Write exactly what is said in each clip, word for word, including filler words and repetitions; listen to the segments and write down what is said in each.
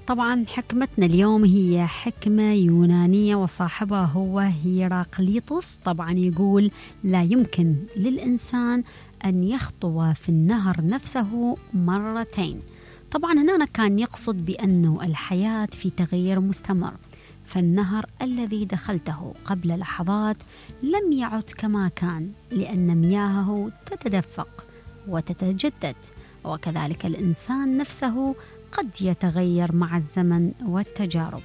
طبعا حكمتنا اليوم هي حكمة يونانية وصاحبها هو هيراقليطس. طبعا يقول لا يمكن للإنسان أن يخطو في النهر نفسه مرتين. طبعا هنا كان يقصد بأنه الحياة في تغيير مستمر، فالنهر الذي دخلته قبل لحظات لم يعد كما كان، لأن مياهه تتدفق وتتجدد، وكذلك الإنسان نفسه قد يتغير مع الزمن والتجارب.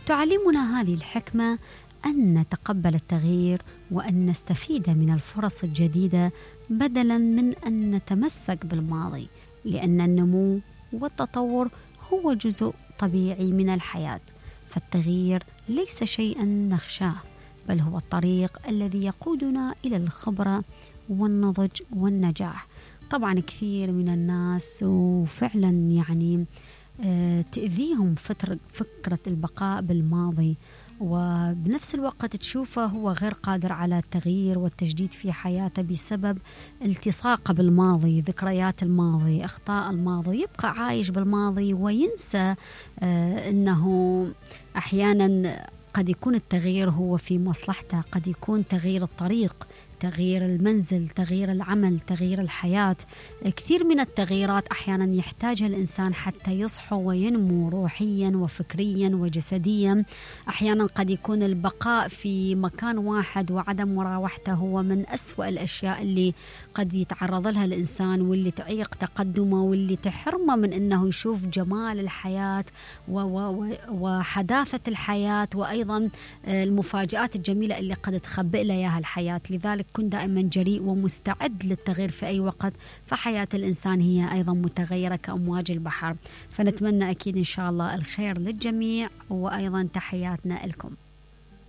تعلمنا هذه الحكمة أن نتقبل التغيير وأن نستفيد من الفرص الجديدة بدلا من أن نتمسك بالماضي، لأن النمو والتطور هو جزء طبيعي من الحياة. فالتغيير ليس شيئا نخشاه، بل هو الطريق الذي يقودنا إلى الخبرة والنضج والنجاح. طبعا كثير من الناس وفعلا يعني تأذيهم فكرة البقاء بالماضي، وبنفس الوقت تشوفه هو غير قادر على التغيير والتجديد في حياته بسبب التصاقه بالماضي، ذكريات الماضي، أخطاء الماضي، يبقى عايش بالماضي وينسى أنه أحيانا قد يكون التغيير هو في مصلحته، قد يكون تغيير الطريق، تغيير المنزل، تغيير العمل، تغيير الحياة. كثير من التغييرات أحيانا يحتاجها الإنسان حتى يصحو وينمو روحيا وفكريا وجسديا. أحيانا قد يكون البقاء في مكان واحد وعدم مراوحته هو من أسوأ الأشياء اللي قد يتعرض لها الإنسان، واللي تعيق تقدمه، واللي تحرمه من أنه يشوف جمال الحياة وحداثة الحياة، وأيضا المفاجآت الجميلة اللي قد تخبئ له إياها الحياة. لذلك كن دائما جريء ومستعد للتغيير في أي وقت، فحياة الإنسان هي أيضا متغيرة كأمواج البحر. فنتمنى أكيد إن شاء الله الخير للجميع، وأيضا تحياتنا لكم.